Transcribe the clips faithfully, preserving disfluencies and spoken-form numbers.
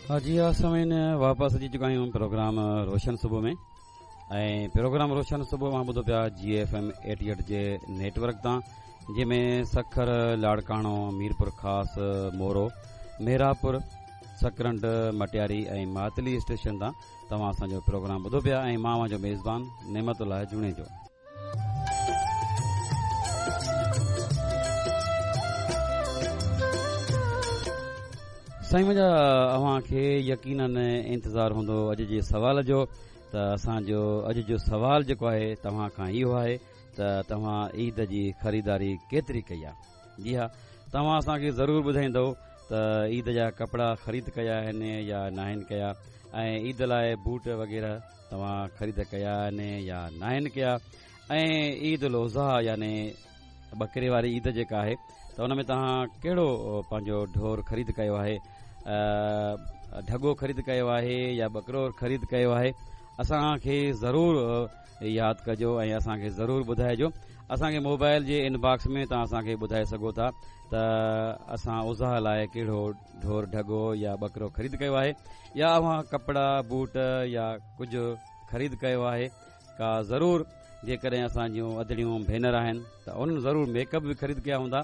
جي ها سامعين، واپس اچي چڪا آهيون پروگرام روشن صبح ۾، ۽ پروگرام روشن صبح اوهان ٻڌو پيا جي ايف ايم ايٽي ايٽ جي نيٽ ورڪ تان، جنهن ۾ سکر، لاڙڪاڻو، ميرپور خاص، مورو، ميراپور، سڪرنڊ، مٽياري ۽ ماتلي اسٽيشن تان توهان اسان جو پروگرام ٻڌو پيا، ۽ مان اوهان جو ميزبان نعمت الله جوڻيجو. سائين منهنجا، اوهان کي يقينن انتظار هوندو اڄ جي سوال جو، ته اسان جو اڄ جو سوال جيڪو آهي توهان کان اهو آهي ته توهان عيد جي خريداري ڪيتري ڪئي آهي؟ جي ها، توهان اسان کي ضرور ٻڌائيندو ته عيد جا ڪپڙا خريد ڪيا آهن يا ناهن ڪيا، ۽ عيد لاء بوٽ وغيره توهان خريد ڪيا آهن يا ناهن ڪيا، ۽ عيد الاضحيٰ يعني ٻڪري واري عيد جيڪا آهي ته ان ۾ توهان ڪهڙو پنهنجو ڍور خريد ڪيو آهي، ڍڳو خريد ڪيو آهي يا ٻڪرو خريد ڪيو آهي؟ اسان کي ضرور ياد ڪجو ۽ اسان کي ضرور ٻڌائجو. اسان کي موبائل جي ان باڪس ۾ توهان اسان کي ٻڌائي سگهو ٿا ته اسان اضحيٰ لاء ڪهڙو ڍور، ڍڳو يا ٻڪرو خريد ڪيو آهي، يا اوهان ڪپڙا، بوٽ يا ڪجهه خريد ڪيو آهي ڪا. ضرور جيڪڏهن اسان جون ادڙيون ڀينر آهن ته انهن ضرور ميڪ اپ به خريد ڪيا هوندا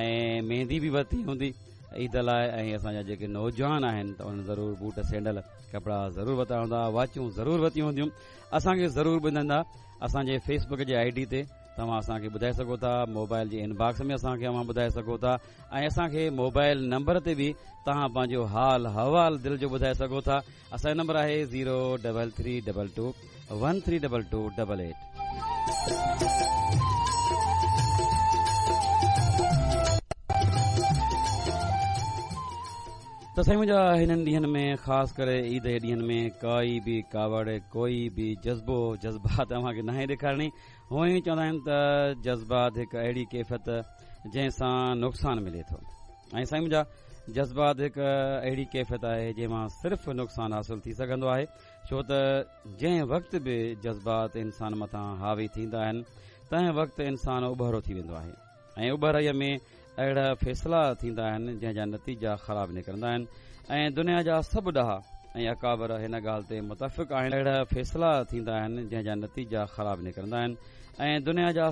۽ مهندي به ورتي هوندي عيد لاء، ۽ اسان جا جيڪي نوجوان آهن ته انهن ضرور بوٽ، سينڊل، ڪپڙا ضرور ورتا هوندا، واچون ضرور ورتيون هونديون. اسان کي ضرور ٻڌائيندا. اسان جي فيس بڪ جي I D تي توهان اسان کي ٻڌائي سگهو ٿا، موبائل جي ان باڪس ۾ اسان کي اوهان ٻڌائي سگهو ٿا، ۽ اسان کي موبائل نمبر تي به توهان پنهنجو حال حوال دل جو ٻڌائي سگهو ٿا. اسان جو نمبر آهي zero double three double two one three double two double eight. ته سائين منهنجا، هنن ڏينهن ۾ خاص ڪري عيد جي ڏينهن ۾ ڪائي به ڪاوڙ، ڪوئي به جذبو، جذبات اوهان کي ناهي ڏيکارڻي. هونئن ئي چوندا آهن ته جذبات هڪ اهڙي ڪيفيت جنهن سان نقصان ملي ٿو، ۽ سائين منهنجا، جذبات هڪ اهڙي ڪيفيت آهي جنهن مان صرف نقصان حاصل ٿي سگهندو آهي، ڇو ته جنهن وقت به جذبات انسان مٿان حاوي ٿيندا آهن تنهن وقت انسان اٻهرو ٿي ويندو آهي، ۽ اٻهرائيء ۾ اهڙا فيصلا ٿيندا آهن جنهن جا نتيجا خراب نڪرندا آهن، ۽ دنيا جا سڀ ڏاها ۽ اڪابر هن ڳالهه تي متفق آهن. اهڙا فيصلا ٿيندا آهن جنهن جا نتيجا خراب نڪرندا آهن، ۽ دنيا جا